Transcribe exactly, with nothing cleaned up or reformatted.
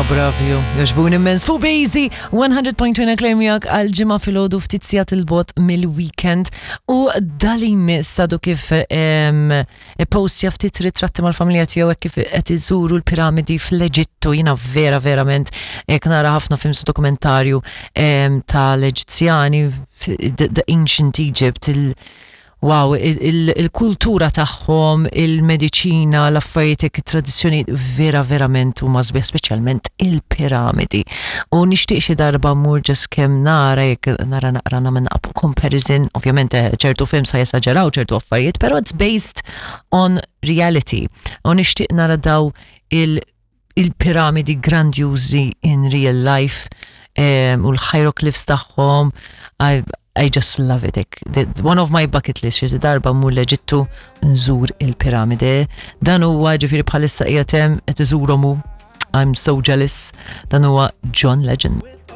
Huma bravi, jogħġbuni immens. Fuq Bejzi, one hundred point two klejmjak għal ġimgħa filgħodu, ftit sigħat 'il bogħod mill-weekend, u dali miss għadu kif postja ftit ritratti mal-familja tiegħu hekk kif qed iżuru l-piramidi fl-Eġittu. Jiena vera verament hekk nara ħafna films u dokumentarju tal-Eġizzjani, the, the ancient Egypt, il- Wow, il-kultura tagħhom, il-mediċina, l-affarijiet, it-tradizzjoni vera verament huma sbieħ, speċjalment il-piramidi. U nixtieq xi darba mmur just kemm nara, jekk nara naqra nagħmel comparison, ovvjament eh, ċertu films sa jesaġeraw ċertu affarijiet, però it's based on reality. U nixtieq nara daw il- il-piramidi grandjużi in real life um, u l-hieroglyphs tagħhom. I, I just love it. One of my bucket list, xi darba mmur l-Eġittu nżur il-piramide. Dan huwa, ġifieri, bħalissa qiegħed hemm qed iżurhom hu. I'm so jealous. Dan huwa John Legend.